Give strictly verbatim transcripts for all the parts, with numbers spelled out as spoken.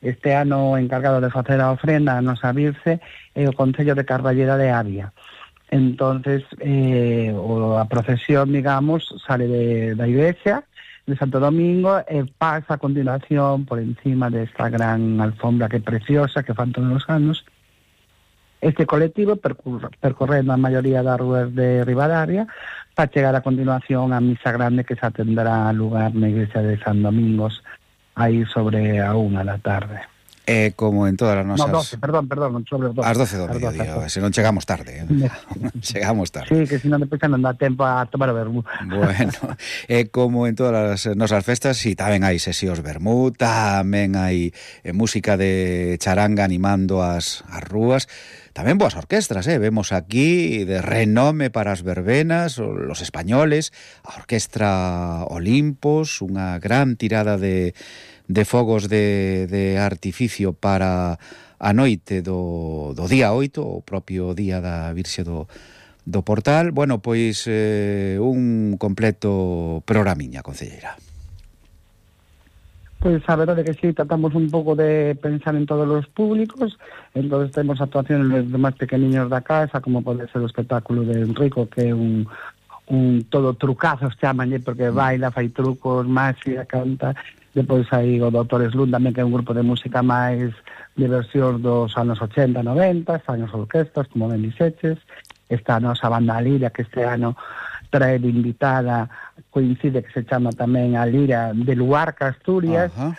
Este ano o encargado de facer a ofrenda a nosa Virxe é o Concello de Carballeda de Avia. Entonces, eh, o, a procesión, digamos, sale de, da iglesia de Santo Domingo e pasa a continuación por encima desta gran alfombra que é preciosa, que fan todos os anos. Este colectivo percurre, percorrendo a maioría das rúas de Ribadavia para chegar a continuación á misa grande que se atenderá a lugar na iglesia de San Domingos aí sobre a unha da tarde. É como en todas as nosas... No, doce, perdón, perdón, sobre os doce. As doce do mediodía, se non chegamos tarde. Eh? Chegamos tarde. Sí, que se non depois non dá tempo a tomar o vermú. Bueno, é como en todas as nosas festas, si tamén hai sesións vermú, tamén hai eh, música de charanga animando as, as rúas, tamén boas orquestras, eh? Vemos aquí de renome para as verbenas, los españoles, a Orquestra Olimpos, unha gran tirada de... de fogos de, de artificio para a noite do, do día oito, o propio día da Virxe do, do Portal. Bueno, pois eh, un completo programiña, concelleira. Pois a verdade que sí, tratamos un pouco de pensar en todos os públicos, entonces temos actuaciones de máis pequeniños da casa, como pode ser o espectáculo de Enrico, que é un, un todo trucazos, chamanlle, porque baila, fai trucos, máxia, canta. Depois hai o doutor Slun tamén, que é un grupo de música máis de versións dos anos ochenta, noventa, están as orquestas, como ben dixeches, está a nosa banda Lira, que este ano trae de invitada, coincide que se chama tamén a Lira de Luarca, Asturias. Uh-huh.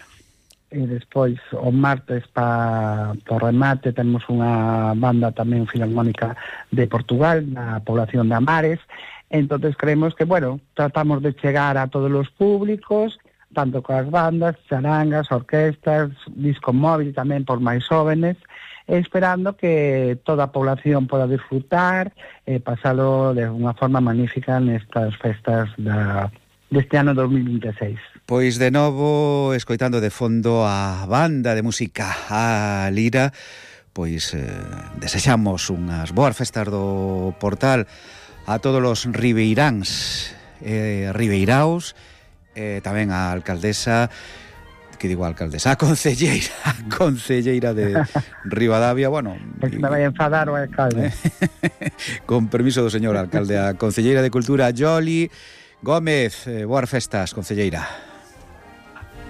E despois o martes pa, por remate temos unha banda tamén filarmónica de Portugal, na población de Amares. Entonces creemos que, bueno, tratamos de chegar a todos os públicos, tanto coas bandas, charangas, orquestas, disco móvil tamén por máis jóvenes, esperando que toda a población poda disfrutar e pasalo de unha forma magnífica nestas festas da, deste ano dos mil vinte e seis. Pois de novo, escoitando de fondo a banda de música a Lira, pois eh, desexamos unhas boas festas do Portal a todos os ribeiráns e eh, ribeiraos, eh, tamén a alcaldesa, que digo a alcaldesa, a concelleira, a concelleira de Ribadavia, bueno... Es que me vai a enfadar o alcalde. Con permiso do señor alcalde, a concelleira de Cultura, Yoli Gómez, eh, boas festas, concelleira.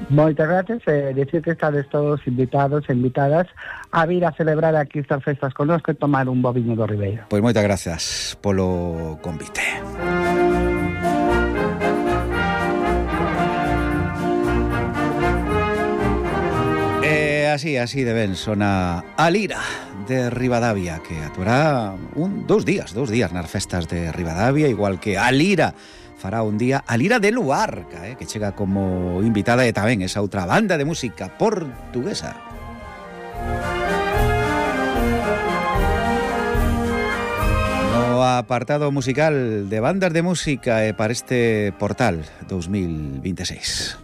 Moitas gracias, eh, decir que estades todos invitados e invitadas a vir a celebrar aquí estas festas connosco e tomar un bo viño do Ribeiro. Pois moitas gracias polo convite. Así, así de ben sona a Lira de Ribadavia, que actuará un, dos días, dos días nas festas de Ribadavia, igual que a Lira fará un día a Lira de Luarca, eh, que chega como invitada e tamén esa outra banda de música portuguesa. No apartado musical de bandas de música eh, para este Portal dos mil vinte e seis.